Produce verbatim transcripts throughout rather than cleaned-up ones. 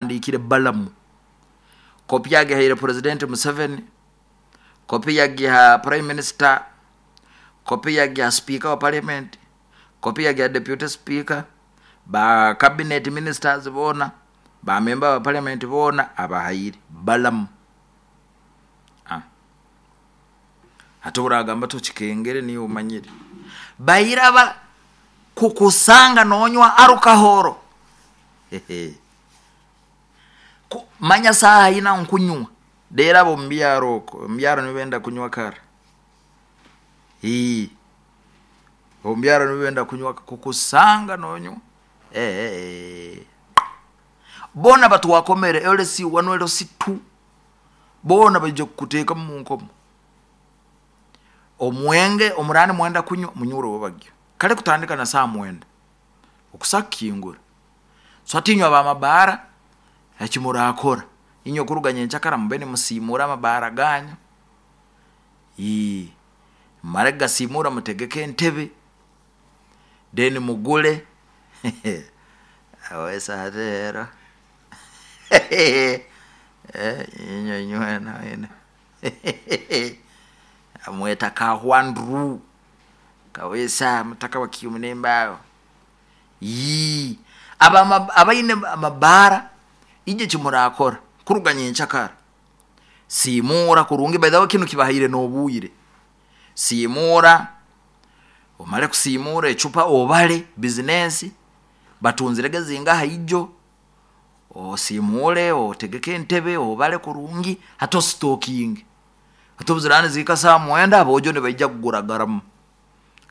Abahandiikire balamu, kopi yagihaire President Museveni, kopi yagiha Prime Minister, kopi yagiha Speaker wa Parliament, kopi yagiha Deputy Speaker, ba cabinet ministers boona, ba member ba Parliament boona abahaire balamu. Ah. Ate oragamba tokikengere, niwe omanyire bairaba kukusanga nonywa alcohol. Ku- manya saaha ina nkunywa rero abo mubyaro okwo, omubyaro nibenda kunywa kara. Ii, omubyaro nibenda kunywa, kukusanga nonywa. Eh, eh, eh. Boona batwakomere L C one, L C two, boona baija kukuteekamu mu nkomo. Omwenge omurani mwenda kunywa, munywere wabagyo kale kutandika na saa mwenda okusa kukingura. So hati inywe abamabaara, eki murakora inywe kuruga nyenkyakara, mube nimusiimura amabaara ganyu. Ii, mumare kugasiimura, mutegeke entebe, then mugule awesa hati rero. Eh, inywe nywena wena amweta Kahwanduru Kawesa mutaka wa Kiumunembaaho. Ii, abama- abaine amabaara, ije kimurakora kuruga nyenkyakara, siimura kurungi. By the way, kinu kibahaire n'obwire. Siimura, omare kusiimura ecupa, obale bizinesi batunzirege zingaha ijo, osiimure, otegeke entebe, obale kurungi, hati ositokinge. Hati obu ziraaba nizihika saaha mwenda, aboojo nibaija kugura garamu,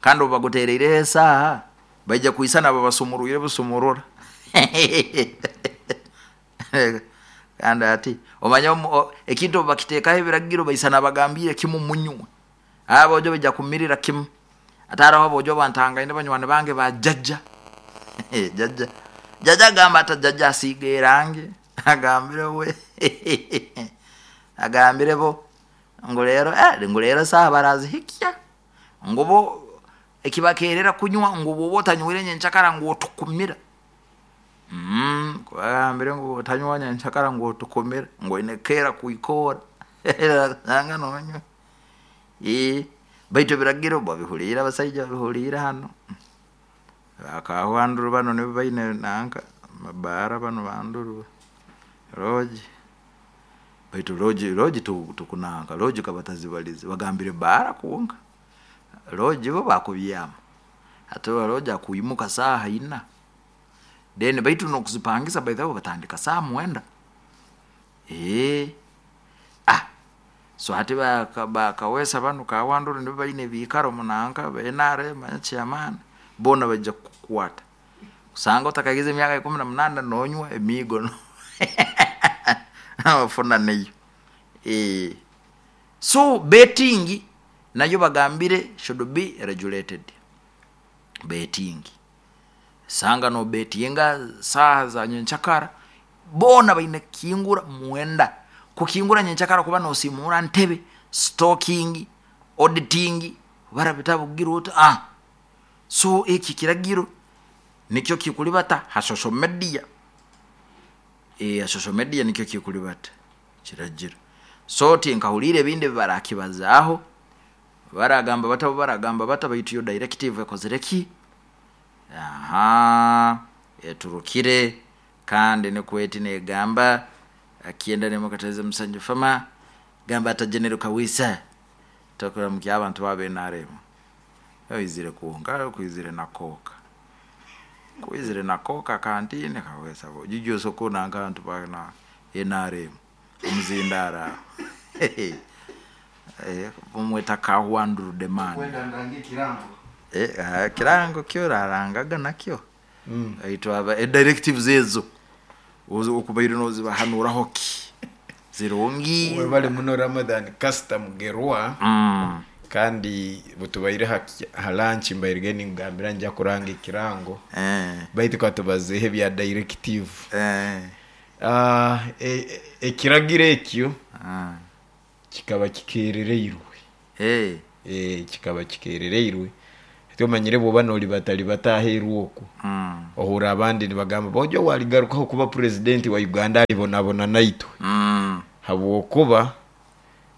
kandi obu baguteriireho esaaha, baija kwisana babasumurwire busumurura. Kandi hati omanya omu- ekintu obu bakiteekaho ebiragiro, baisana bagambiire kimu munywe, aboojo baija kumirira kimu. Hati haroho aboojo abantangaine, banywani bange ba jajja. Jajja, jajja agamba ata, jajja asiiga erangi, agambire we, agambire bo ngu rero, eh, ngu rero saaha barazihikya, ngu bo ekibakerera kunywa, ngu bwoba otanywire nyenkyakara ngu otukumira. Mm, bagambire ngu otanywa nyenkyakara ngu otukumira, ngu oine kukeera kwikoora nanga nonywa. Ii, baitu ebiragiro babihuliire, abasaija babihuliire hanu bakahwanduru banu nibo baine nanka mabaara banu banduru lodge, baitu lodge lodge tu- tukunanka lodge kabatazibalize, bagambire baara kwonka. Lodge bo bakubyama, hati lodge akwimuka saaha ina, then baitu nokuzipangisa, by the way, batandika saaha mwenda. Ee, ah, so hati baka- bakawesa banu Kawanduru nibo baine ebiikaro munanka ba N R M, manya chairman, boona baija kukukwata kusanga otakahikize emyaka ikumi na munaana nonywa emiigo no ofuna neyo. Eh, so betting nayo bagambire should be regulated. Betting, sanga no betinga saaha za nyenkyakara, boona baine kukingura mwenda, kukingura nyenkyakara kuba nosiimura ntebe, stocking, auditing, bara bitabu kugira ota. Ah, so eki kiragiro nikyo kikulibata ha social media. Eh, ha social media nikyo kikulibata kiragiro. So tinkahuliire ebindi ebibarakibazaaho, baragamba bata, baragamba bata, baitu yo directive ekozire ki, aha, eturukire, kandi nikwo eti negamba akienda nemukataize musanju fama gamba ata General Kawisa tokuramukya abantu ba N R M oizire kwonka kwizire na koka, kwizire na koka kantine Kawesa jiji soko nanka abantu ba na N R M omuzindara aho. Eh, bamweta Kahwanduru Demani. Kwenda ndange kirango. Eh, ah, kirango kyo rarangaga nakyo. Mm. Baitu aba e directives ezo ozo- okubaire nozibahanuraho ki zirungi? Webale muno Ramadhan Kasita Mugerwa. Mm. Kandi butubaire ha, ha lunch mbairege ningambira nja kuranga ekirango, Eh, baitu katubazeho ebya directive. eh, Ah, e- e- ekiragiro ekyo ah. kikaba kikerereirwe. Eh, e, kikaba kikerereirwe. Ati omanyire bwoba nolibatalibata aheeru oku, Mm. ohura abandi nibagamba bojo waligarukaho kuba purezidenti wa Uganda alibonabona naitwe, Mm. habwokuba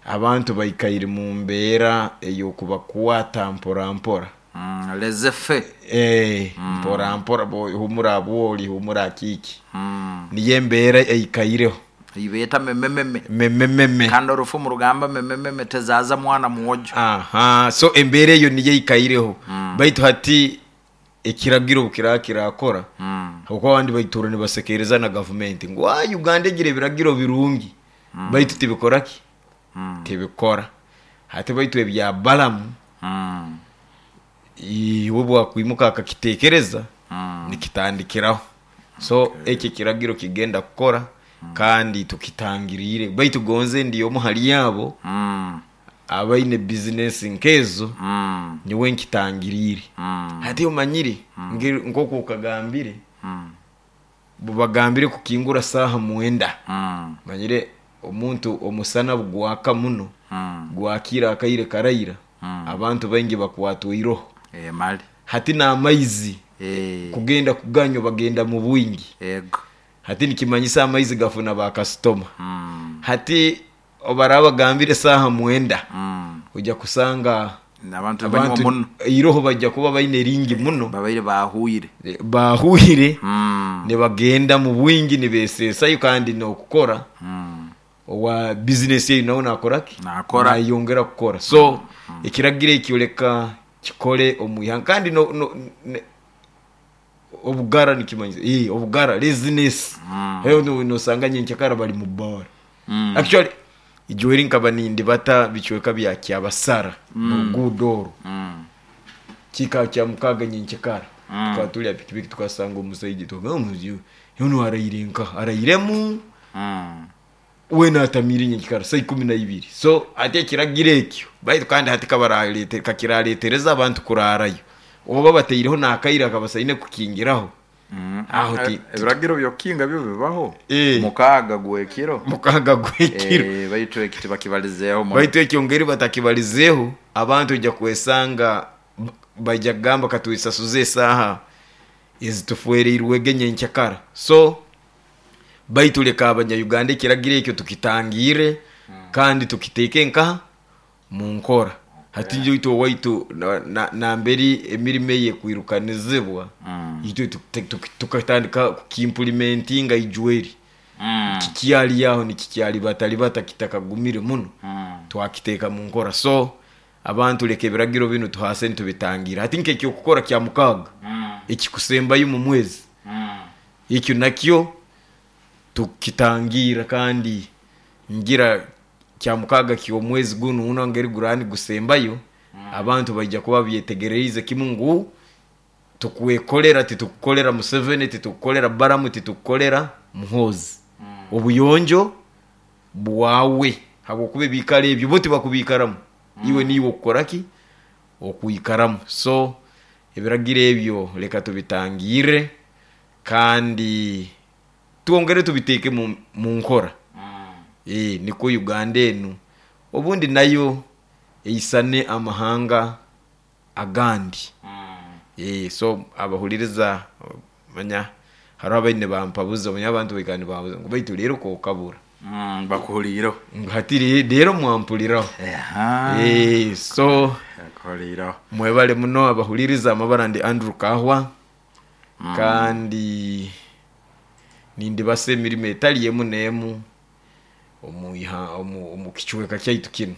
abantu baikaire mu mbeera ey'okubakwata mpora mpora. Mm. Laissez-faire. Eh, mpora mpora, bo- humura bwoli humura kiki, Mm. niyo embeera eikaireho. Ibeeta memememe. Memememe. Kandi orufumu rugamba memememe tezaza mwana mwojo. Aha, so embeera eyo niyo eikaireho. Baitu hati ekiragiro kiraa kirakora, Mm. habwokuba abandi baitura nibasekereza na gavumenti ngu "Ah, Uganda egira ebiragiro birungi, baitu tibikora ki, Mm. tibikora." Hati baitu ebya Balamu, Mm. iwe bwakwimuka akakitekereza, Mm. nikitandikiraho. So ekyo ekiragiro kigenda kukora, kandi tukitangiriire. Baitu gonze ndi omu hali abo Mm. abaine bizinesi nkezo, Mm. nyowe nkitangiriire. Mm. Hati omanyire ngeri- nk'oku okagambire, Mm. bubagambire kukingura saaha mwenda, Mm. manyire omuntu omusana bugwaka muno, Mm. gwakira akaire karaira, Mm. abantu baingi bakwatwa iroho. Eh, mali. Hati n'amaizi Eh. kugenda kuganywa bagenda mu bwingi. Ego. Hati nikimanyisa amaizi gafuna bakasitoma. Mm. Hati obaraba bagambire saaha mwenda, Mm. ojja kusanga Abantu banywa abantu muno. iroho bajja kuba baine ringi muno. Babaire bahuire. Bahuire, Mm. nibagenda mu bwingi nibesesayo, kandi n'okukora Mm. owa bizinesi eyo nawe nakoraki, Nakora. nayongera kukora. So ekiragiro ekyo leka kikole omu ihanga, kandi no, no, ne, obugara nikimanyisa eh obugara, laziness. Mm. Eyo no- nosanga nyenkyakara bali mu bar. Mm. Actually ijweri nkaba nindibata bicweka bya Kyabasara mu ruguudo orwo, Mm. kika kya mukaga nyenkyakara, Mm. tukaba tuli pikipiki, tukasanga omusaija, tugamba yono araire nka arairemu, Mm. we natamire nyenkikara saa ikumi na ibiri. So ati ekiragiro ekyo, baitu kandi hati kabaralete kakiraletereza abantu kurarayo, oba bateireho nakaire akabasaine kukingiraho. Mm. Aho ti- Ebiragiro byokinga byo bibaho. Eh. Mukaga gwekiro. Mukaga gwekiro. Eh, baitu ekiti bakibalizeeho muno. Baitu ekyo ngeri batakibalizeeho, abantu ojja kwesanga b- bajja kugamba katwisasuze esaaha ezitufereirwege nyenkyakara. So baitu leka abanya-Uganda ekiragiro ekyo tukitangire, kandi tukiteeke nkaha mu nkora. Hati itwe owaitu na- na- namberi emirimo eye ekwirukanizibwa, Mm. itwe tukite- tuki- tukatandika kukiimplimentinga ijweri. Mm. Kikyali aho nikikyali batalibata kitakagumire muno, Mm. twakiteeka mu nkora. So abantu leka ebiragiro binu tuhase nitubitangira. Hati nkekyokukora kya mukaaga, Mm. ekikusembayo mu mwezi, Mm. ekyo nakyo tukitangira. Kandi ngira kya mukaaga ky'omwezi guno uno ngeri gurani gusembayo, abantu baija kuba byetegereize kimu ngu tukwekolera, titukukolera Museveni, titukukolera Baramu, titukukolera Muhozi. Obuyonjo bwawe, habwokuba ebikaro ebyo bo tibakubikaramu, iwe niiwe okukoraki okwikaramu. So ebiragiro ebyo leka tubitangire, kandi twongere tubiteeke mu, mu nkora. Mm. e, niko Uganda enu obundi nayo eisane amahanga agandi. Mm. e, so abahuliriza, manya hariho abaine bampabuza, manya abantu baikara nibambuza ngu baitu rero kokabura. Mm. Bakuhuliireho. Ngu hati re- rero mwampuliraho. Aha. e, so Bakuhuliireho. mwebale muno abahuliriza. Amabara ndi Andrew Kahwa, kandi nindibasa emirimo etali emu n'emu omu iha- omu omu kicweka kyaitu kinu.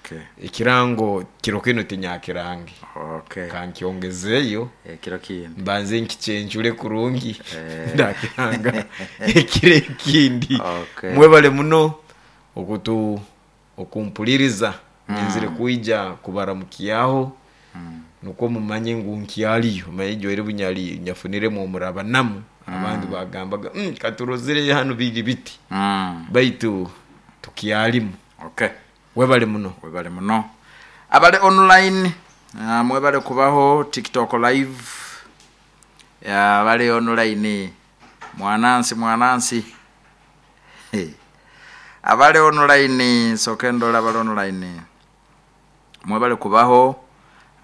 Okay. Ekirango kiro kino tinyakirange. Okay. Kankyongezeeyo. Ekiro kindi. Mbanze nkikyencure kurungi, Eh. ndakiranga ekiro ekindi. Okay. Mwebale muno okutu okumpuliriza. Nyenzire kwija kubaramukyaho, nukwo mumanye ngu nkyaliyo. Manye ijwaire bunyali nyafuniremu omurabanamu, abandi bagambaga, mm, katurozire hano biri biti, Mm. baitu tukyalimu. Okay. Webale muno. Webale muno abali online, uh, mwebale kubaho TikTok live. Abali online, mwanansi mwanansi. Hey. Abali online, soke ndola abali online, mwebale kubaho.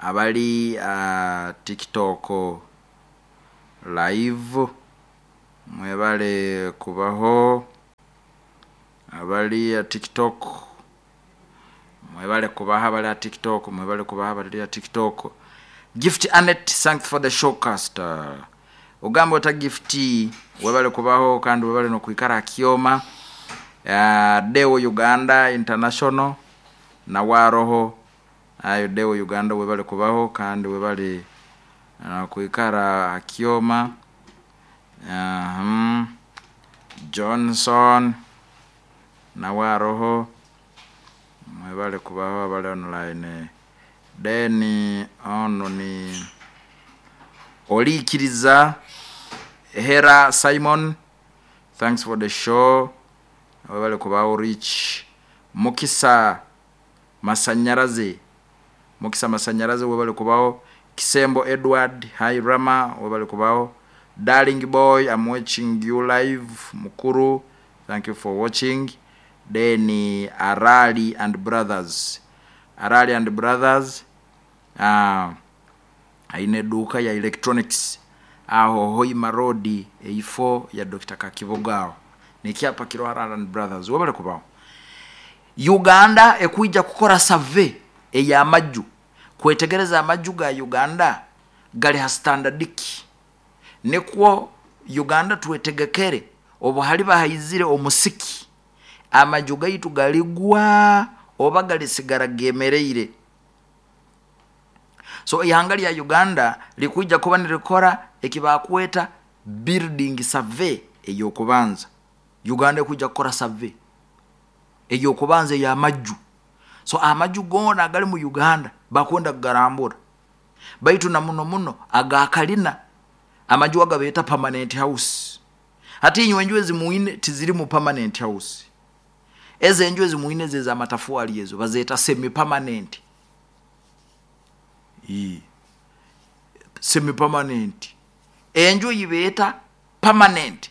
Abali uh, TikTok live, mwebale kubaho. Abali uh, TikTok, mwebale kubaho. Abali a TikTok, mwebale kubaho. Abali a TikTok. Gift Anet, thanks for the showcast. Ogamba ota Gift, webale kubaho kandi webale nokwikara akioma. uh, Deo Uganda International na waroho ayo. Deo Uganda, webale kubaho kandi webale uh, kwikara akioma. uh, Johnson na waroho, mwebale kubaho abali online. Then ono ni Olikiriza Hera Simon, thanks for the show, webale kubaho. Rich Mukisa Masanyaraze, Mukisa Masanyaraze, webale kubaho. Kisembo Edward, hi Rama, webale kubaho. Darling Boy, I'm watching you live, mukuru, thank you for watching. Then Arali and Brothers, Arali and Brothers, uh, aine eduuka ya electronics aho Hoima Road, eifo ya Doctor Kakibogao, nekyapa kiro Arali and Brothers, webale kubaho. Uganda ekwija kukora survey ey'amaju kwetegereza amaju ga Uganda gali ha standard ki, nikwo Uganda twetegekere obu hali bahaizire omusiki, amaju gaitu galigwa oba galisigara gemereire. So ihanga lya Uganda likwija kuba nirikora ekibakweta building survey eyokubanza. Uganda ekwija kukora survey eyokubanza ey'amaju. So amaju gona agali mu Uganda bakwenda kugarambura, baitu na muno muno agakalina, amaju agabeeta permanent house. Hati inywe enju ezimuine tiziri mu permanent house. Ezo enju ezimuine ze z'amatafuali, ezo bazeeta semi permanent. Semi permanent. Enju yibeeta permanent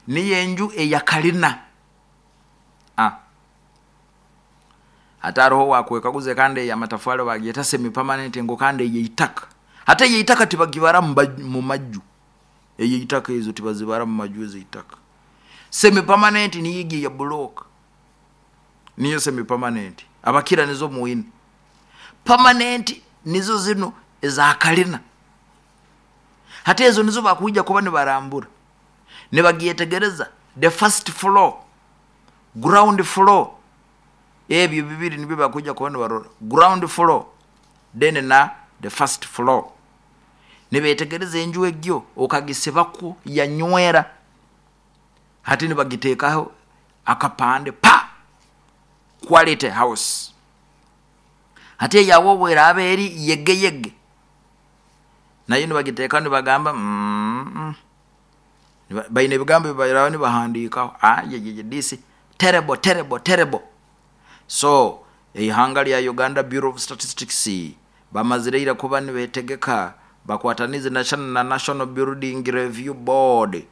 niyo enju eyakalina. Ah, ate hariho wakwekaguze kandi eyamatafari bagyeta semi permanent, ngo kandi eyeitaka. Ate eyeitaka tibagibara mu maju, eyeitaka ezo tibazibara mu maju ezeitaka. Semi permanent niyo ya block, niyo semi permanent abakira nizo muwini. Permanent nizo zino ezakalina. Hata ezo nizo bakuija kuba nibarambura, nibagyetegereza the first floor, ground floor. Ebyo bibiri nibyo bakuija kuba nibarora, ground floor then na the first floor. Nibetegereza enju egyo okagisebako yanywera, hati nibagiteekaho akapande pa quality house. Hati eyawo bweraaba eri yegeyege, nayo nibagiteekaho nibagamba mm -mm. Baine ebigambo bibairaho nibahandiikaho, ah, ye, this terrible, terrible, terrible. So eihanga lya Uganda, Bureau of Statistics bamazireire kuba nibetegeka, bakwatanize na National Building Review Board,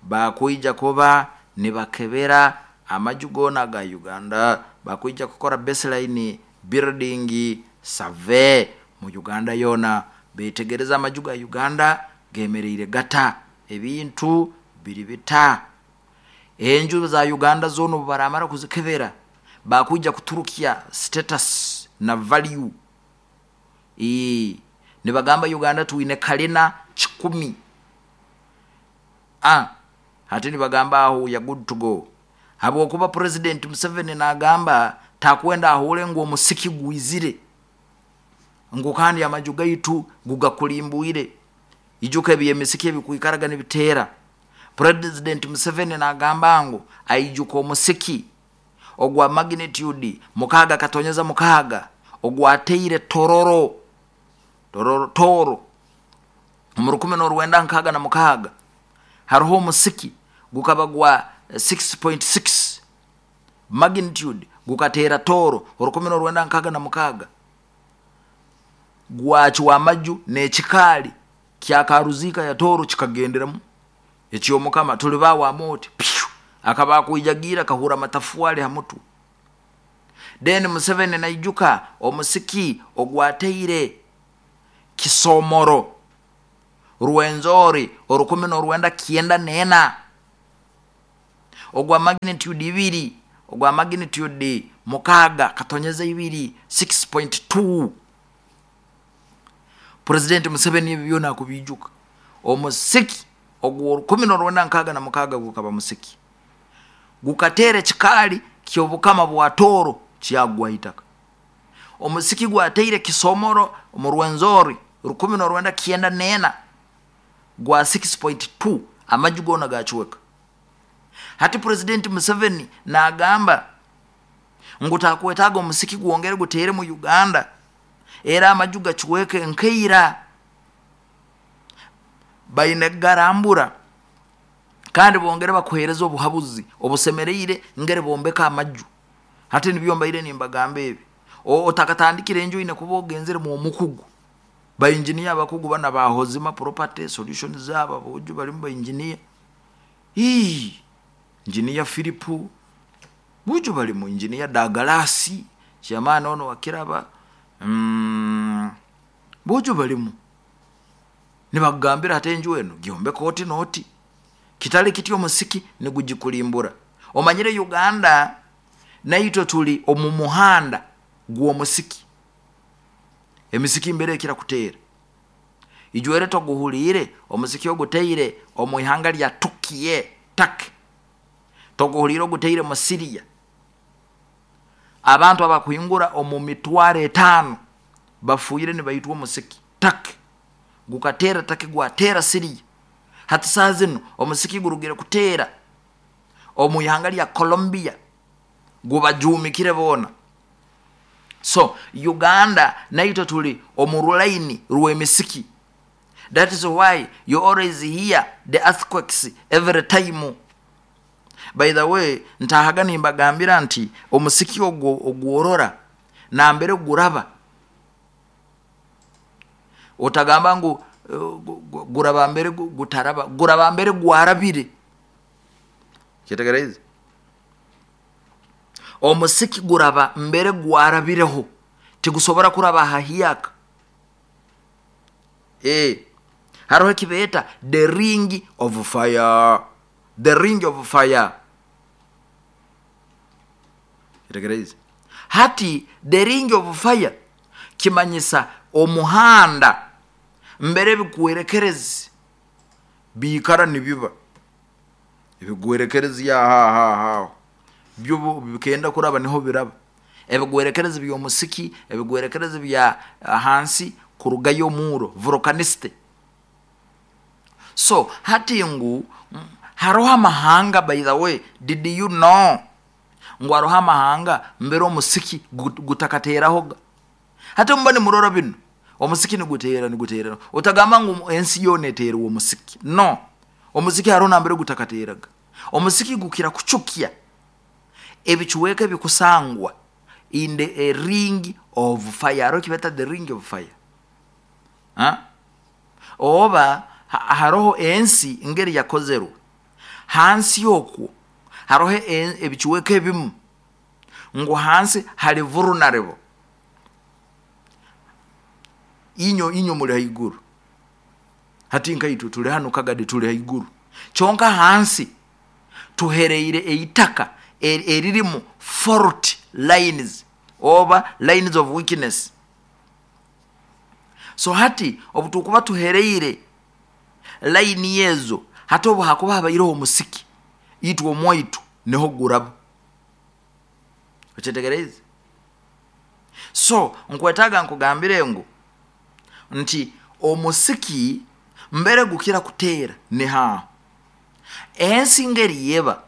bakwija kuba nibakebera amaju gona ga Uganda. Bakwija kukora baseline building survey mu Uganda yona, betegereza amaju ga Uganda gemereire gata, ebintu biri bita. Enju za Uganda zona obu baramara kuzikebera, bakwija kuturukia status na value. Ee, nibagamba Uganda tuine kalina kikumi. Ah, hati nibagamba aho ya good to go, habwokuba President Museveni nagamba takwenda ahure ngu omusiki gwizire ngu kandi amaju gaitu gugakulimbuire. Ijuka ebyemisiki ebikwikaraga nibiteera. President Museveni nagamba ngu aijuka omusiki ogwa magnitude mukaaga katonyeza mukaaga ogwateire Tororo, Tororo, Toro mu rukumi n'orwenda nkaaga na mukaaga. Hariho omusiki gukaba gwa six point six magnitude gukateera Toro orukumi n'orwenda nkaaga na mukaaga, gwakiwa amaju n'ekikaali kyakaruzika ya Toro kikagenderamu. Ekyomukama tuli bawa amoti pyu akaba akwijagira kahura matafuali ha mutwe. Then Museveni naijuka omusiki ogwateire Kisomoro, Rwenzori orukumi n'orwenda kyenda n'ena, ogwa magnitude ibiri, ogwa magnitude mukaaga katonyeza ibiri, six point two. President Museveni ebyo byona akubiijuka. Omusiki ogwo orukumi n'orwenda nkaaga na mukaaga gukaba musiki gukateera ekikaali ky'obukama bwa Tooro kyagwa itaka. Omusiki gwateire Kisomoro mu Rwenzori rukumi n'orwenda kyenda n'ena gwa six point two, amaju goona gacweka. Hati President Museveni nagamba ngu takwetaaga omusiki gwongere guteere mu Uganda era amaju gacweke nkeira. Baine garambura kandi bongere bakuhereza obuhabuzi obusemereire ngere bombeka amaju. Hati nibyo mbaire nimbagamba ebi. Otakatandikire enju ine kuba ogenzere mu mukugu. Ba engineer abakugu bana ba Hozima Property Solutions zaba boju balimu ba engineer. Ii, engineer Philip buju balimu engineer Dagalasi chairman ono wakiraba. Mm, buju balimu. Nibagambira ate enju eno gyombeka oti noti. Kitali kityo omusiki nigugikulimbura. Omanyire Uganda naitwe tuli omu muhanda gw'omusiki. Emisiki mbere ekira kuteera. Ijwere toguhuliire omusiki oguteire omu ihanga lya Turkey, Turkey. Toguhuliire oguteire mu Syria. Abantu abakuhingura omu mitwaro etaano bafuire nibaitwa omusiki Turkey. Gukateera Turkey, gwateera Syria. Hati saa zino omusiki gurugire kuteera omu ihanga lya Colombia, gubajumikire boona. So Uganda naitwe tuli omu rulaini rw'emisiki. That is why you always hear the earthquakes every time. By the way, ntahaga nimbagambira nti omusiki ogwo ogworora nambere guraba. Otagamba ngu, uh, guraba mbere gutaraba, guraba mbere gwarabire. Kitegereze. Omusiki guraba mbere gwarabireho, tigusobora kuraba hahiyaka. Eh, hariho ekibeeta the ring of fire. The ring of fire. Kitegereze. Hati the ring of fire kimanyisa omuhanda mbere bikwerekerezi biikara nibiba ebigwerekerezi ya ha ha ha byo bikenda kuraba niho biraba. Ebigwerekerezi by'omusiki, ebigwerekerezi bya hansi kurugayo omuro volcaniste. So hati ngu haroho amahanga, by the way, did you know ngu haroho amahanga mbere omusiki gutakateraho? Hati mba nimurora bino omusiki nigutera nigutera, otagamba ngu ensi yona eterwa omusiki. No, omusiki haroho nambere gutakateraga. Omusiki gukira kuchukia ebicuweka bikusangwa in the a ring of fire. Haroho kibeta the ring of fire. Ha? Oba haroho ensi ngeri yakozerwe hansi yokwo haroho ebicuweka ebimu ngu hansi hali vulnerable. Inyo inyo muli haiguru. Hati nkaitu tuli hano Kagadi tuli haiguru. Chonka hansi tuhereire eitaka eririmu fault lines oba lines of weakness. So hati obutukuba tuhereire line yezo, hati obu hakuba habaireho omusiki itwe omwaitu niho guraba. Okyetegereze. So nkwetaaga nkugambire ngu nti omusiki mbere gukira kuteera ni ha ensi ngeri yeba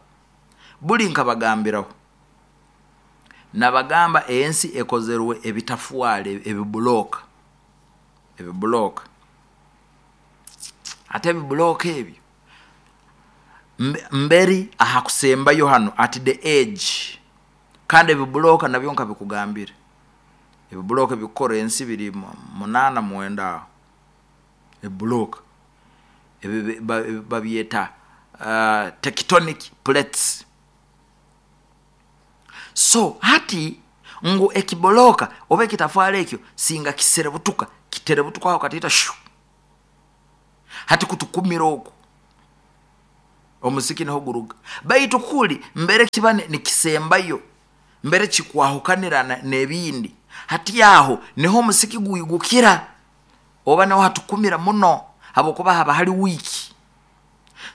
buli nkabagambiraho. Nabagamba ensi ekozerwe ebitafuale ebibuloka. Ebibuloka. Ate ebibuloka ebyo mberi aha kusembayo hano at the edge. Kandi ebibuloka nabyo nkabikugambira. Ebibuloka bikora ensi biri munana mwenda. Ebibuloka ebi babyeta uh, tectonic plates. So hati ngu ekiboloka oba ekitafale ekyo singa kiserebutuka Kitere butukaho katiita shu. Hati kutukumira oku omusiki niho guruga. Baitu kuli mbere kiba nikisembayo, mbere kikwahukanira n'ebindi, hati aho niho omusiki gwigukira oba niho hatukumira muno, habwokuba haba hali wiiki.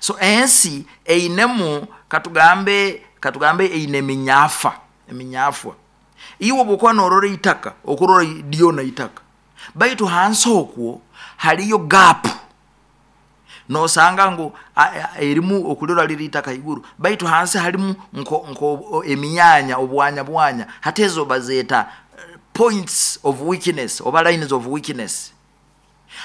So ensi einemu, katugambe katugambe eine eminyafa, eminyafwa. Iwe bwokuba norora itaka, okurora lyona itaka, baitu hansi okwo haliyo gap. Nosanga ngu erimu okulirora liri itaka iguru, baitu hansi halimu nko, nko eminyanya, obwanya bwanya. Hati ezo bazeta points of weakness oba lines of weakness.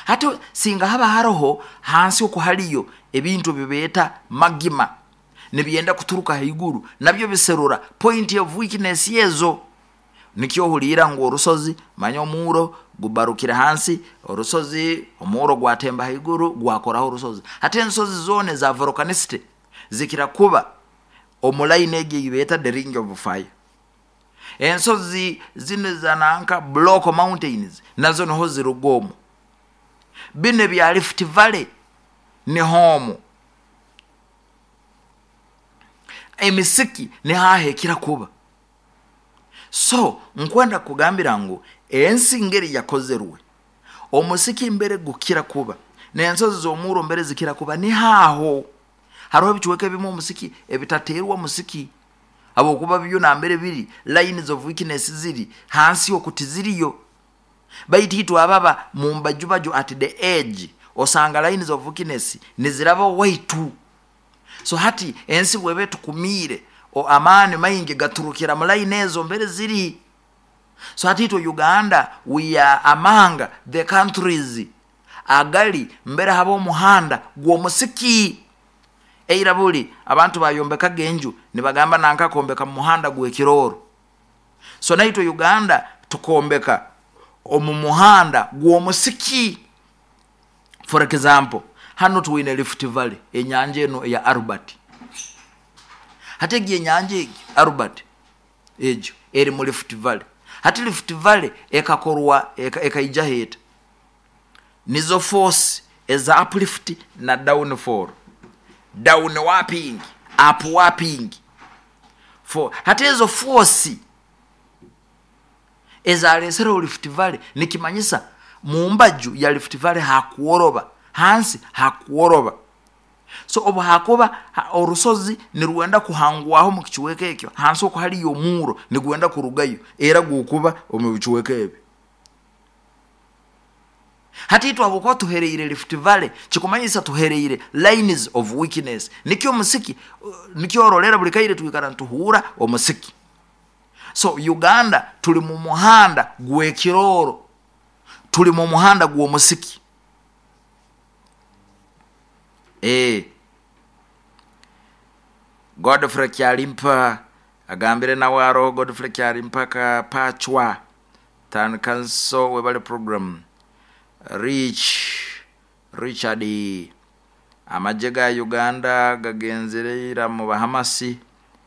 Hati singa haba haroho hansi oku haliyo ebintu bibeeta magima nibyenda kuturuka haiguru, nabyo biserura point of weakness ezo. Nikyo ohuliira ngu orusozi manya omuuro gubarukire hansi, orusozi omuuro gwatemba haiguru gwakoraho orusozi. Hati ensozi zoona eza volcanicity zikira kuba omu line egi eyibeeta the ring of fire. Ensozi zino zananka block mountains nazo niho ziruga omu. Bino ebya Rift Valley niho omu. Emisiki nihaho ekira kuba. So nkwenda kugambira ngu ensi ngeri yakozerwe, omusiki mbere gukira kuba n'ensozi z'omuuro mbere zikira kuba nihaho. Hariho ebicweka ebimu omusiki ebitateerwa musiki, habwokuba byo nambere biri lines of weakness ziri hansi oku tiziriyo. Baitu itwe ababa mu mbajubaju at the edge, osanga lines of weakness niziraba waitu. So hati ensi bweba etukumiire, amaani maingi gaturukira mu line ezo mbere ziri. So hati itwe Uganda, we are among the countries agali mbere haba omuhanda gw'omusiki. Eira buli abantu bayombekaga enju nibagamba nanka kombeka mu muhanda gw'ekirooro. So naitwe Uganda tukombeka omu muhanda gw'omusiki. For example, hano twine Rift Valley, enyanja eno eya Albert. Hati egi enyanja egi Albert egyo eri mu Rift Valley. Hati Rift Valley ekakorwa ekaija heta nizo force eza uplift na downfall, down warping, up warping. For hati ezo force ezalesereho Rift Valley, nikimanyisa mumbaju ya Rift Valley hakuoroba, hansi hakuoroba. So obu hakuba ha, orusozi nirwenda kuhangwaho mu kichweka ekyo, hansi oku haliyo omuuro nigwenda kurugayo, era gukuba omu bichweka ebi. Hati itwe habwokuba tuhereire Rift Valley, kikumanyisa tuhereire lines of weakness. Nikyo omusiki, nikyo orolera buli kaire twikara ntuhuura omusiki. So Uganda tuli mu muhanda gw'ekirooro, tuli mu muhanda gw'omusiki. Eh, Godfrey Kyalimpa agambire nawe aroho. Godfrey Kyalimpa ka Pachwa Town Council webale program. Rich Richard, amagye ga Uganda gagenzere ira mu Bahamasi,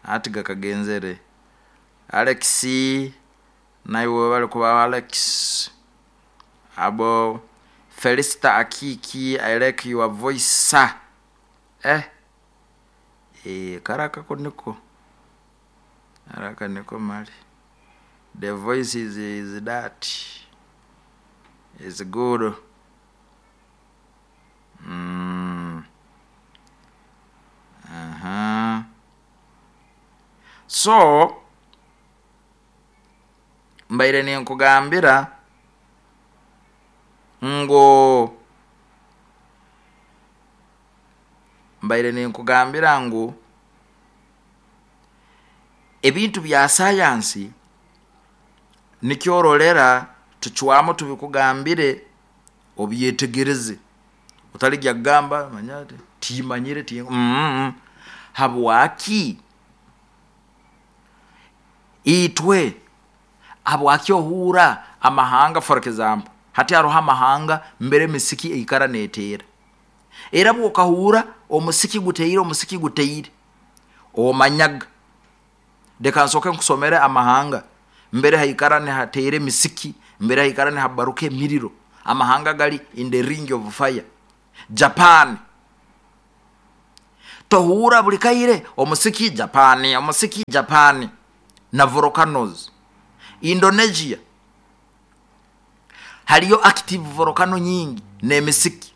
ati gakagenzere. Alex nawe webale kuba Alex. Abo Felista Akiki, I like your voice sir. Eh eh karaka ko niko, karaka niko mali. The voice is, is that is good. Mm. Uh-huh. So mbaire ninkugambira ngo mbaire ninkugambira ngu ebintu bya sayansi nikyorolera tucwamu tubikugambire obyetegereze, otalijya kugamba manya timanyire ti mm -mm. Habwaki itwe, habwaki ohura amahanga, for example hati haroho amahanga mbere emisiki eikara neteera, era bwokahura omusiki guteire, omusiki guteire omanyaga. Reka nsoke nkusomere amahanga mbere haikara nihateera emisiki, mbere haikara nihabaruka emiriro. Amahanga gali in the ring of fire. Japan tohura buli kaire omusiki Japan, omusiki Japan na volcanoes. Indonesia haliyo active volcano nyingi n'emisiki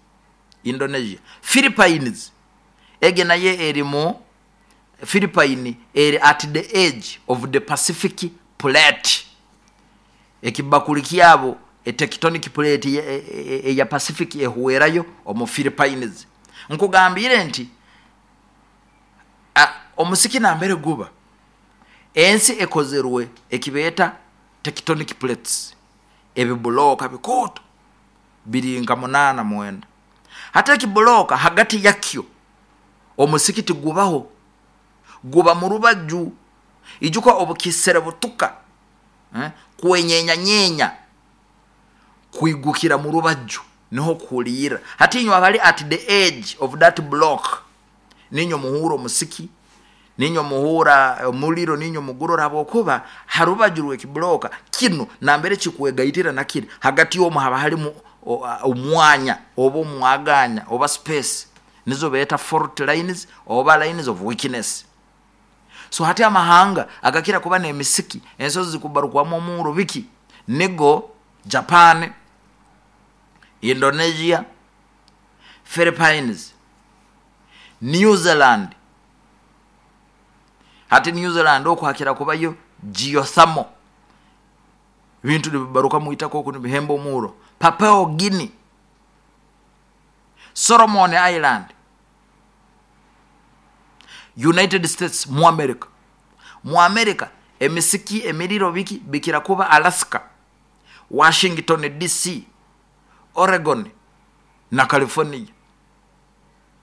Indonesia. Philippines ege naye eri mu Philippine eri at the edge of the Pacific plate. Ekibakuli kyabo e tectonic plate eya Pacific ehuwerayo omu Philippines. Nkugambire nti omusiki nambere guba ensi ekozerwe ekibeta tectonic plates, ebibuloka bikoto biri nka munana mwenda. Hata ekibuloka hagati yakyo omusiki tigubaho, guba mu rubaju. Ijuka obukisere butuka eh? Kwenyenya nyenya kuigukira mu rubaju niho kulira. Hati inyo abali at the edge of that block ninyo muhura omusiki, ninyo muhura omuliro, ninyo mugurora abokuba harubaju rw'ekibloka kino nambere kikwegaitira nakiri hagati yomu haba halimu omwanya oba omwaganya oba space, nizo beta fault lines oba lines of weakness. So hati amahanga agakira kuba n'emisiki ensozi zikubarukwamu omuro biki nigo Japan, Indonesia, Philippines, New Zealand. Hati New Zealand okwakira kubayo geothermal, bintu nibibaruka muitako oku nibihemba omuro. Papua Guinea, Solomon Island, United States mu America. Mu America emisiki emiriro biki bikira kuba Alaska, Washington D C, Oregon na California.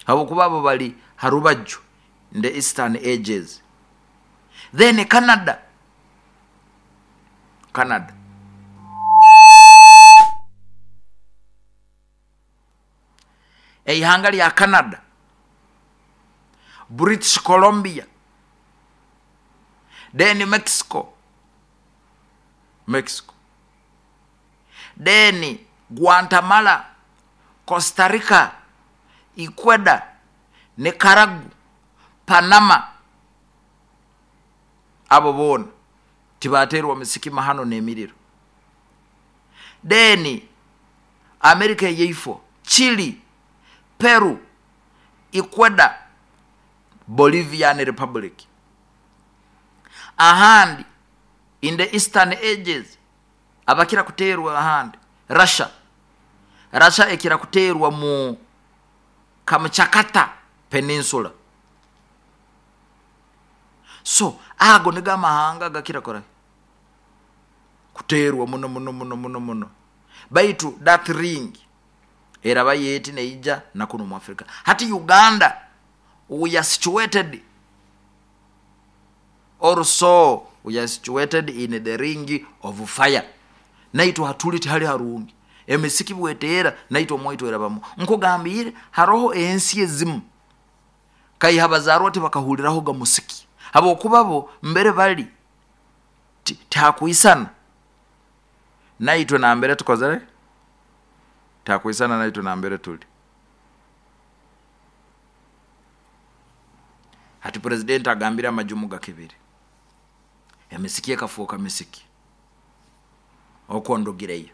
Abo kuba abo bali harubaju in the eastern ages. Then Canada, Canada eihanga lya Canada, British Columbia, then Mexico, Mexico, then Guatemala, Costa Rica, Ecuador, Nicaragua, Panama. Abo bona tibaterwa misiki mahano n'emiriro. Then America yeifo, Chile, Peru, Ecuador, Bolivian Republic. Ahandi in the eastern ages abakira kuterwa ahandi Russia. Russia ekira kuterwa mu Kamchatka Peninsula. So ago niga amahanga gakira kora kuterwa muno muno muno muno muno. Baitu that ring eraba yeti neija na kuno mu Africa. Hati Uganda we are situated also, we are situated in the ring of fire. Naitu hatuli hali harungi emisiki bwetera naitu omwaitu erabamu. Nkugambire haroho ensi ezimu kaihabazarwa tibakahuliraho ga musiki abo kubabo mbere bali takuisana naitwe na mbere tukozere takuisana naitwe na mbere tuli. Hati president agambira amajumu gakibiri emisiki ekafuuka misiki okondogireyo.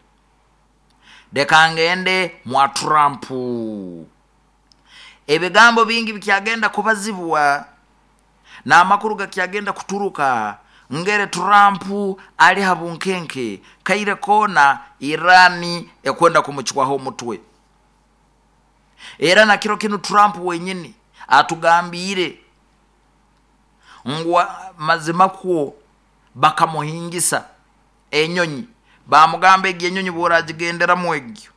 Dekangende mwa Trump ebigambo bingi bikyagenda kubazibwa na amakuru gakyagenda kuturuka ngere Trump ali habunkenke kaire kona Irani ekwenda kumuchwaho omutwe. Era na kiro kino Trump wenyini atugambire ngwa mazima kuo bakamuhingisa enyonyi bamugamba egi enyonyi boragigendera mwegyo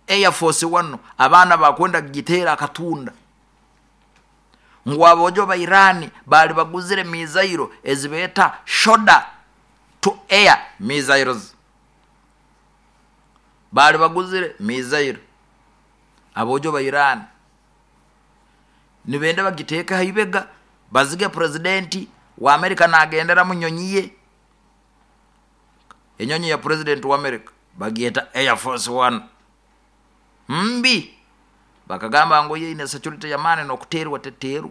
Air Force One abaana bakwenda gitera akatunda ngwa abojo ba Irani bali baguzire mizairo ezibeta shoulder to air missiles, bali baguzire mizairo abojo ba Irani nibenda bagiteka haibega bazige presidenti wa Amerika nagendera mu nyonyi ye, enyonyi ya president wa America Bagyeta Air Force One mbi, bakagamba ngu yo ine security yamaani, n'okuteerwa teteerwa,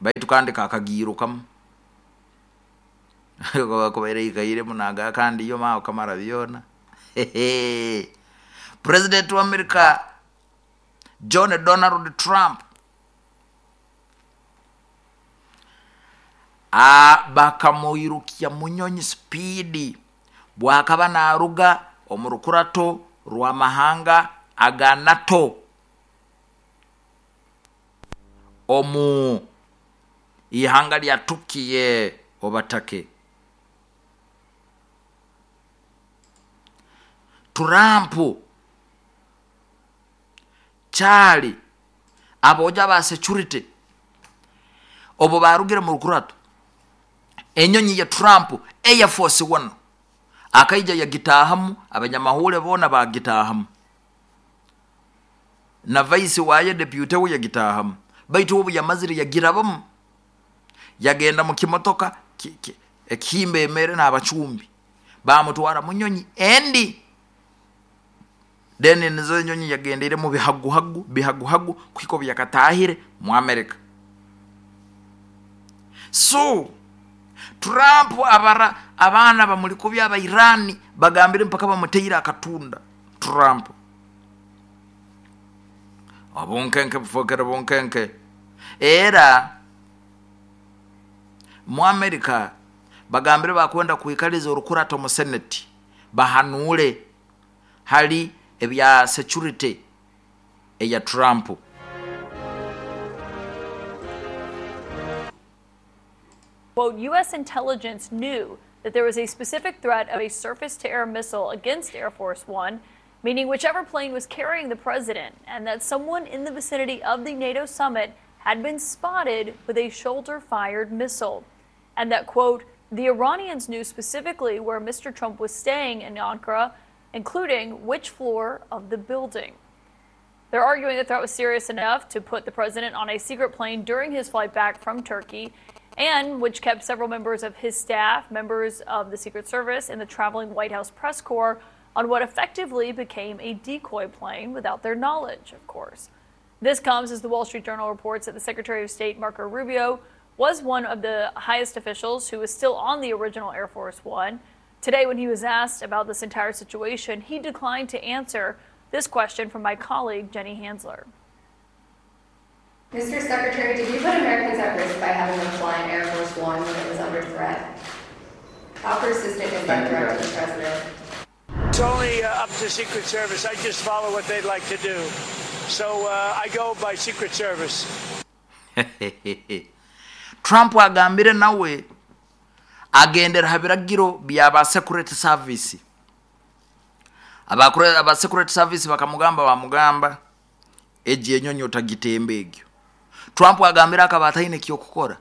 baitu kandi kakagiirukamu kubaire ikairemu naga kandi yo mao kamara byona. President wa America John Donald Trump a bakamuirukia munyonyi speed bwakaba naruga omu rukurato rw'amahanga aga NATO omu ihanga lya Turkey obatake. Trump kyali aboja ba security obo barugire mu rukurato, enyonyi ya Trump Air Force One akaija yagitahamu, abanyamahule bona bagitahamu, na vice waye deputy we yagitahamu, baitu obu yamazire yagirabamu yagenda mu kimotoka ekihimba emere n'abacumbi bamutwara munyonyi endi. Then nizo enyonyi yagendere mu bihaguhagu bihaguhagu kuhika obu yakatahire mu America. So Trump abara abaana bamuli kubi aba Irani bagambire mpaka bamuteire akatunda Trump. Obunkenke bufokere bunkenke. Era mu America bagambire bakwenda kuikaliza orukurato mu Senate bahanule hali ebya security eya Trump. Quote, U S intelligence knew that there was a specific threat of a surface-to-air missile against Air Force One, meaning whichever plane was carrying the president, and that someone in the vicinity of the NATO summit had been spotted with a shoulder-fired missile. And that, quote, the Iranians knew specifically where Mister Trump was staying in Ankara, including which floor of the building. They're arguing the threat was serious enough to put the president on a secret plane during his flight back from Turkey, and which kept several members of his staff, members of the Secret Service, and the traveling White House press corps on what effectively became a decoy plane without their knowledge, of course. This comes as the Wall Street Journal reports that the Secretary of State, Marco Rubio, was one of the highest officials who was still on the original Air Force One. Today, when he was asked about this entire situation, he declined to answer this question from my colleague, Jenny Hansler. Mister Secretary, did you put Americans at risk by having them fly in Air Force One when it was under threat? How persistent is that threat to the president? It's only uh, up to Secret Service. I just follow what they'd like to do. So uh, I go by Secret Service. Trump agambire nawe agendera ha biragiro byaba Secret Service. Abakure aba Secret Service bakamugamba bamugamba eji enyonyi otagitembe egyo. Trump agambira akaba ataine kyokukora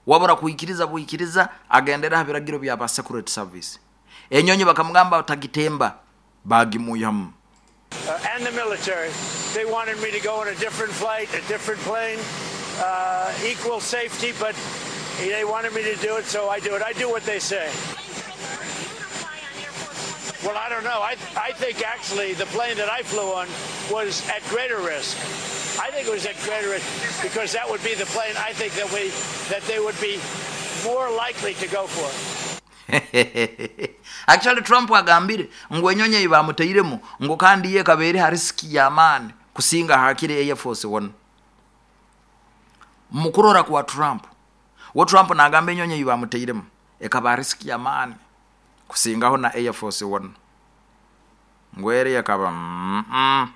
wabura kuikiriza buikiriza agendera ha biragiro byaba Secret Service. Enyonyi bakamugamba otagitemba bagimuyamu. Uh, and the military, they wanted me to go on a different flight, a different plane, uh, equal safety, but they wanted me to do it, so I do it. I do what they say. Well, I don't know. I, I think actually the plane that I flew on was at greater risk. I think it was at greater risk because that would be the plane I think that we that they would be more likely to go for. Actually Trump agambire ngo enyonyi ibamuteiremu ngo kandi ye kabere ha risk ya man kusinga hakire Air Force One. Mukurora kwa Trump, wo Trump nagamba enyonyi ibamuteiremu ekaba risk ya man kusingaho na Air Force One. Ngwere yakaba mm -mm.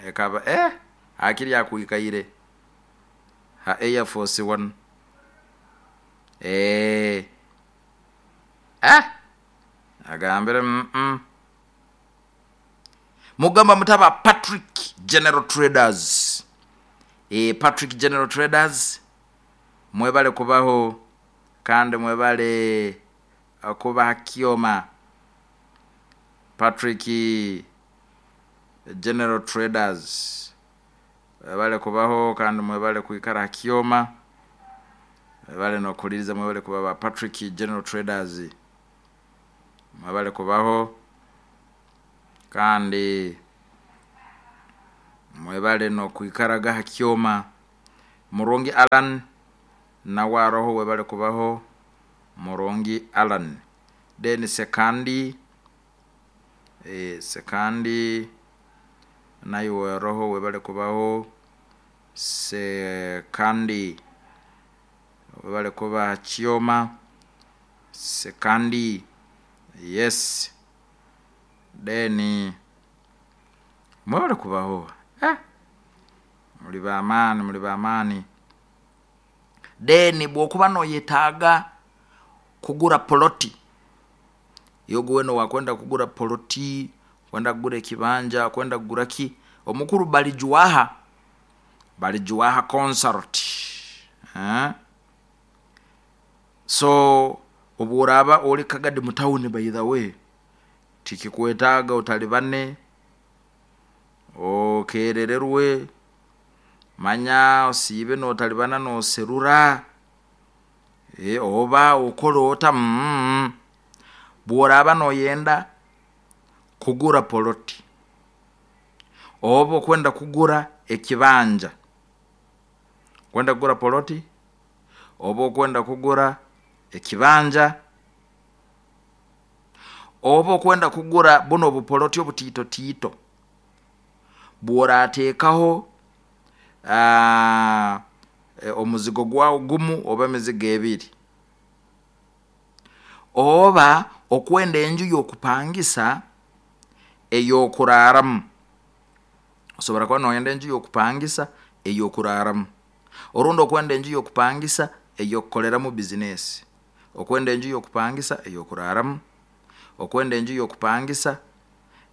Ekaba eh hakiri yakuikaire ha Air Force One. Eh eh agambire mm -mm. Mugamba mutaba Patrick General Traders. Eh Patrick General Traders mwebale kubaho kandi mwebale kuba kioma. Patrick General Traders mwebale kubaho kandi mwebale kuikara kioma, mwebale no kuliriza, mwebale kuba Patrick General Traders. Mwebale kubaho kandi mwebale nokwikaraga ha kyoma. Murungi Alan nawe aroho, webale kubaho Murungi Alan. Then Sekandi, eh, Sekandi naye aroho, webale kubaho Sekandi, webale kuba kyoma Sekandi. Yes, then mwebale kubaho eh, muli bamaani, muli bamaani. Then bwokuba noyetaaga kugura poloti, yoguweno wakwenda kugura poloti, kwenda kugura ekibanja, kwenda kugura ki, omukuru Balijuaha, Balijuaha Consult eh? So obworaba oli Kagadi mutawuni, by the way, tikikwetaaga otalibane okerererwe, manya osiibe notalibana noserura e, oba okola ota mm. Bworaba noyenda kugura poloti oba okwenda kugura ekibanja, kwenda kugura poloti oba okwenda kugura ekibanja oba okwenda kugura buno obupoloti obutiitotiito, bworateekaho uh, omuzigo gwawo gumu oba emizigo ebiri, oba okwenda enju y'okupangisa ey'okuraaramu. Osobora kuba noyenda enju y'okupangisa ey'okuraaramu, orundi okwenda enju y'okupangisa ey'okukoleramu bizinesi, okwenda enju y'okupangisa ey'okuraaramu, okwenda enju y'okupangisa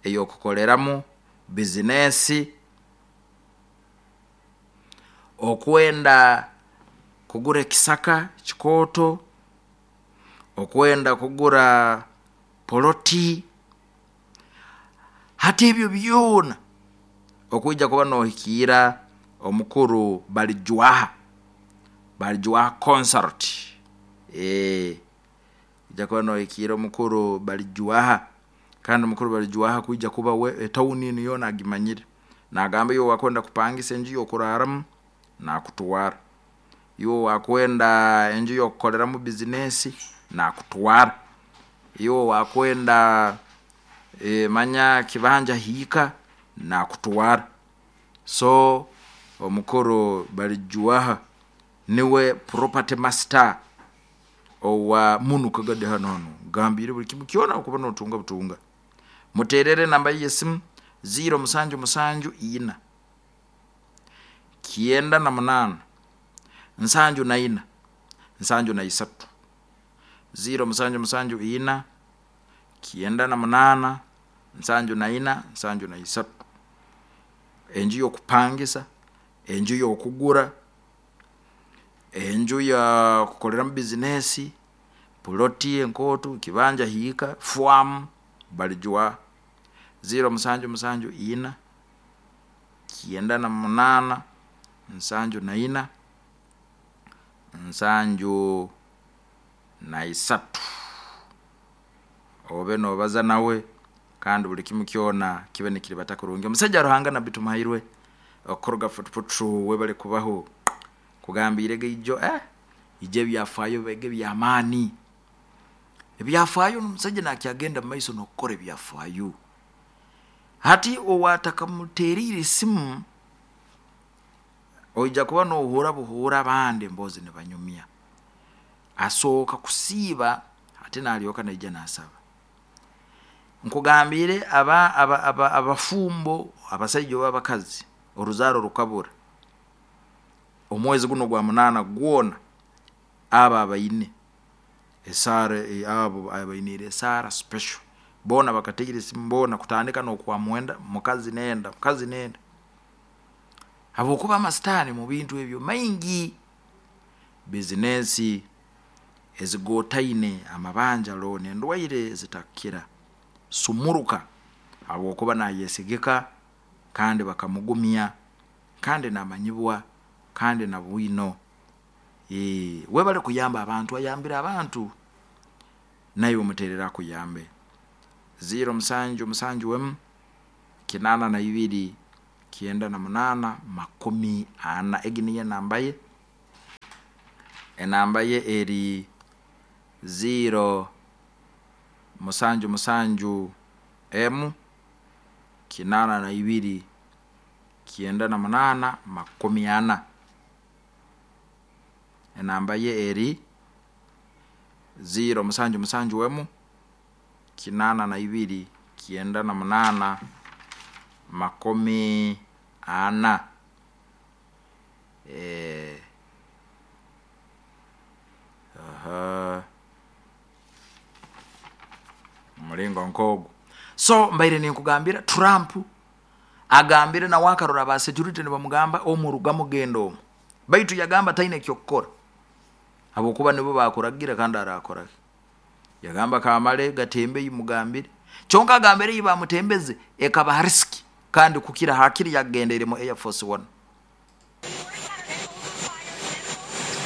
ey'okukoleramu bizinesi, okwenda kugura ekisaka kikooto, okwenda kugura poloti. Hati ebyo byona okwija kuba nohikiira omukuru Balijuaha, Balijuaha Consult eh, ija kuba nohikiira omukuru Balijuaha. Kandi omukuru Balijuaha kwija kuba we etawuni enu yoona agimanyire, nagamba iwe wakwenda kupangisa enju y'okuraaramu nakutwara, iwe wakwenda enju y'okukoleramu bizinesi nakutwara, iwe wakwenda e, manya kibanja hiika nakutwara. So omukuru Balijuaha niwe property master owa munu Kagadi hano hano, gambire buli kimu kyona okuba notunga butunga. Muterere namba y'esimu ziro musanju musanju ina kyenda na munaana nsanju na ina nsanju na isatu, ziro musanju musanju ina kyenda na munaana nsanju na ina nsanju na isatu. Enju y'okupangisa, enju y'okugura, enju ya kukoleramu bizinesi, puloti enkootu, kibanja hiika, fwamu, Balijuaha ziro musanju musanju ina kyenda na munaana nsanju na ina nsanju na isatu. Obe nobaza nawe kandi buli kimu kyona kibe nikiribata kurungi. Omusajja Ruhanga Nabbi Tumuhairwe okuruga Futuputu, webale kubaho kugambirege ijo eh, ijo ebyafaayo bege ebyamaani, ebyafaayo omusajja nakyagenda mumaiso nokukora ebyafaayo. Hati owatakamuteriire esimu oija kuba nohura buhura abandi emboozi nibanyumya, asooka kusiiba ate nalyoka naija nasaba. Nkugambire aba, aba, aba, abafumbo abasaija oba abakazi oruzaaro rukabura omwezi guno gwa munaana gwona, abo abaine esaara, abo abainiire esaara special boona bakateire esimu boona kutandika n'okwa mwenda, mukazi nenda, mukazi nenda, habwokuba amasitaani mu bintu ebyo maingi, bizinesi ezigotaine, amabanja, looni, endwaire ezitakukira, sumuruka, habwokuba nayesigika kandi bakamugumya kandi namanyibwa kandi na bwino. E, webale kuyamba abantu, ayambire abantu, naiwe omuterere akuyambe. ziro musanju musanju emu kinana na ibiri kienda na munana makumi ana. Egi niyo enamba ye, enamba ye eri ziro musanju musanju emu kinana na ibiri kienda na munana makumi ana. Enamba ye eri ziro musanju musanju emu kinana na ibiri kienda na munana makumi ana. Eh, aha, mulingo nkogu. So mbaire ninkugambira Trump agambire nawe akarora ba security nibamugamba omuruga mugendo omu, baitu yagamba taine ekyokukora habwokuba nibo bakuragira kandi arakora. Yagamba kamale gatembe yimugambire, kyonka agambire yibamutembeze ekaba risk kandi kukira hakiri yagendere mu Air Force One.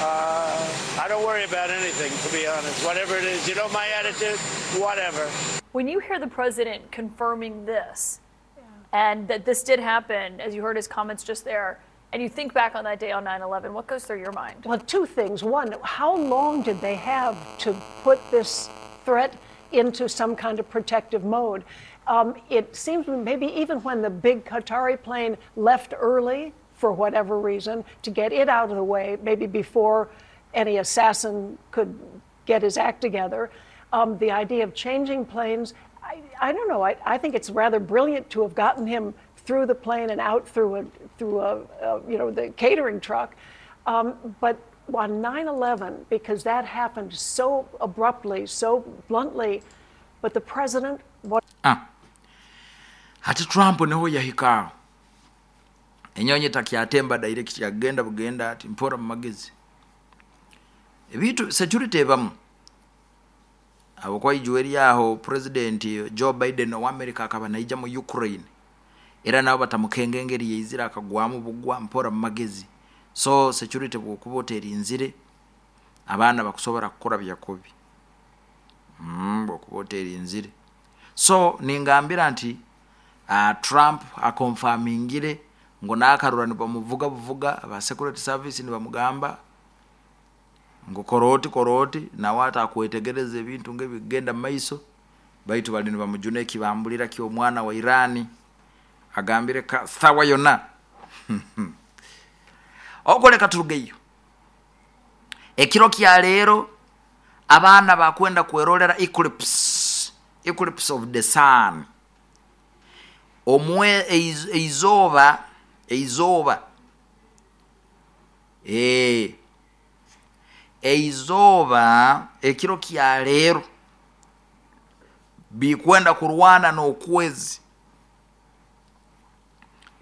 Uh, I don't worry about anything, to be honest. Whatever it is, you know my attitude, whatever. When you hear the president confirming this, yeah, and that this did happen, as you heard his comments just there, and you think back on that day on nine eleven, what goes through your mind? Well, two things. One, how long did they have to put this threat into some kind of protective mode? Um, it seems maybe even when the big Qatari plane left early, for whatever reason, to get it out of the way, maybe before any assassin could get his act together, um, the idea of changing planes, I, I don't know. I, I think it's rather brilliant to have gotten him through the plane and out through a, through a, a you know, the catering truck. Um, but on nine eleven, because that happened so abruptly, so bluntly, but the president... What ah. Hati Trump niho yahikaaho. Enyonyi takyatemba direct, yagenda bugenda ati mpora mu magezi. Ebitu security ebamu. Abo kwa ijuweri yaho President Joe Biden wa America akaba naija mu Ukraine. Era nabo batamukengengeri yeizira akagwamu bugwa mpora mu magezi. So security bwokuba oterinzire abaana bakusobora kukora byakubi. Mm, bwokuba oterinzire. So ningambira nti uh, Trump akonfirmingire ngo nakarura nibamuvuga buvuga aba security service nibamugamba ngo koroti koroti nawe atakwetegereza ebintu ngebigenda maiso, baitu bali nibamujuna ekibambulira ky'omwana wa Irani agambire ka sawa yonna. Okoleka turugeyo ekiro kya leero abaana bakwenda kwerolera eclipse, eclipse of the sun, omwe eizoba eizoba eh eizoba ekiro kya leero bikwenda kurwana n'okwezi.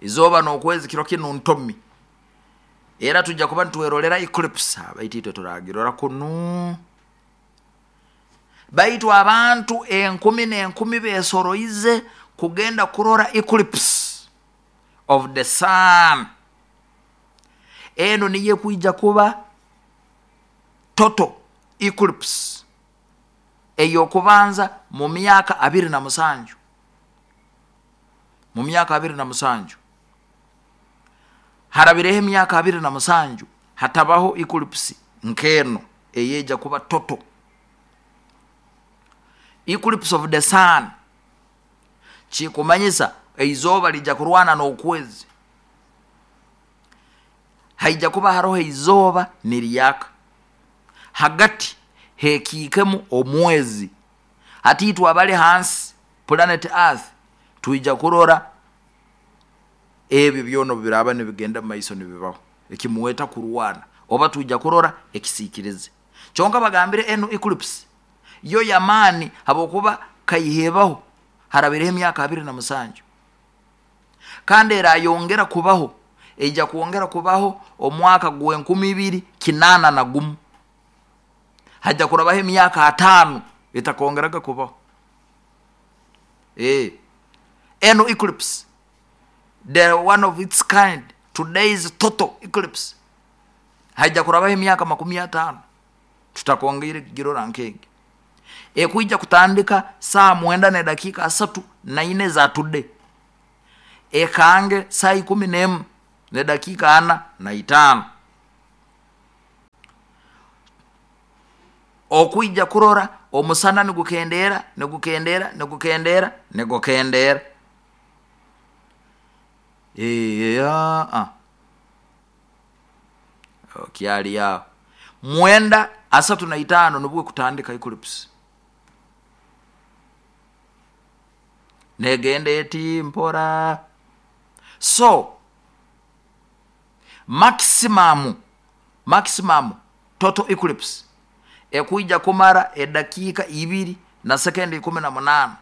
Izoba n'okwezi kiro kino ntomi era tujja kuba ntwerolera eclipse abaitito turagirora kunu. Baitu abantu enkumi n'enkumi besoroize kugenda kurora eclipse of the sun. Eno niye kuija kuba total eclipse eyokubanza mu myaka abiri na musanju. Mu myaka abiri na musanju harabireho emyaka abiri na musanju hatabaho eclipse nkeno eyeja kuba total eclipse of the sun. Chikumanyisa eizoba lija kurwana n'okwezi, haija kuba haroho eizoba niryaka hagati hekiikemu omwezi. Hati abali hansi planet Earth tuija kurora ebyo byono biraba nibigenda maiso nibibaho ekimuweta kurwana oba tuija kurora ekisikirize. Kyonka bagambire eno eclipse yo yamani habokuba kaihebaho harabireho emyaka abiri na musanju kandi era yongera kubaho eija kuongera kubaho omwaka gw'enkumi ibiri kinana na gumu. Haja kurabaho emyaka atano etakongeraga kubaho. Eh, eno eclipse, the one of its kind, today's total eclipse, haja kurabaho emyaka makumi atano tutakongera girora nkenge. Ekwija kutandika saa mwenda na dakika asatu na ine za today, ekange saa ikumi n'emu ne dakika ana na itano. Okwija kurora omusana nigukendera, nigukendera, nigukendera, nigukendera. Iya, kyali yao mwenda asatu na itano nibwe kutandika eclipse. Negende eti mpora. So maximum, maximum total eclipse ekuija kumara edakiika ibiri na sekendi ikumi na munana,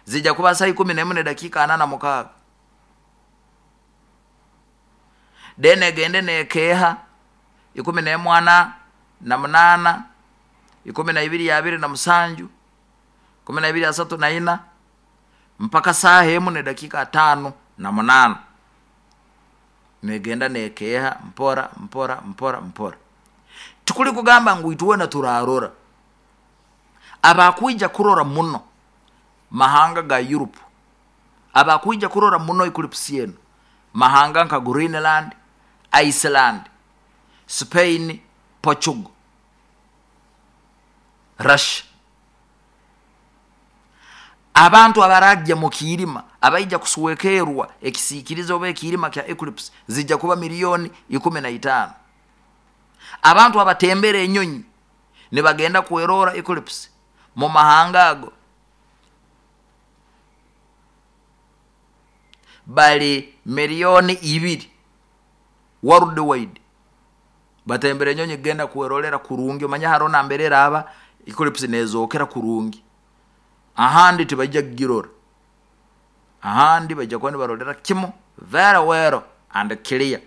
zija kuba saa ikumi n'emu nedakiika ana na mukaaga. Then egende nekeha ikumi n'emu ana na munana, ikumi na ibiri ya abiri na musanju, ikumi na ibiri asatu na ina, mpaka saa emu nedakiika tano na munana. Negenda nekeha mpora mpora mpora mpora. Tukuli kugamba ngu ituwena turarora. Abakwija kurora muno mahanga ga Europe, abakwija kurora muno eclipse yenu mahanga nka Greenland, Iceland, Spain, Portugal, Russia. Abantu abarajja mu kiirima abaija kusuwekerwa ekisiikirizo oba ekiirima kya eclipse zijja kuba milioni ikumi na itaano. Abantu abatembera enyonyi ne bagenda kwerora eclipse mu mahanga ago bali milioni ibiri worldwide. Batembera enyonyi genda kwerolera kurungi, omanya harona mberera aba eclipse nezokera kurungi. Ahandi tibajja kugirora, ahandi bajja kuba nibarolera kimu very well and clear.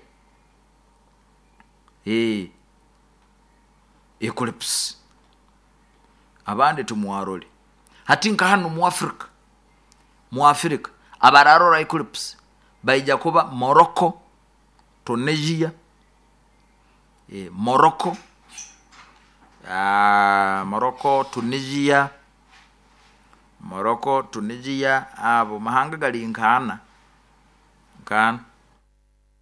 Eh, eclipse abandi tumwarole. Hati nka hano mu Africa, mu Africa abararora eclipse baija kuba Morocco, Tunisia, eh, Morocco, ah, Morocco, Tunisia, Morocco, Tunisia, abo mahanga gali nkana nkana.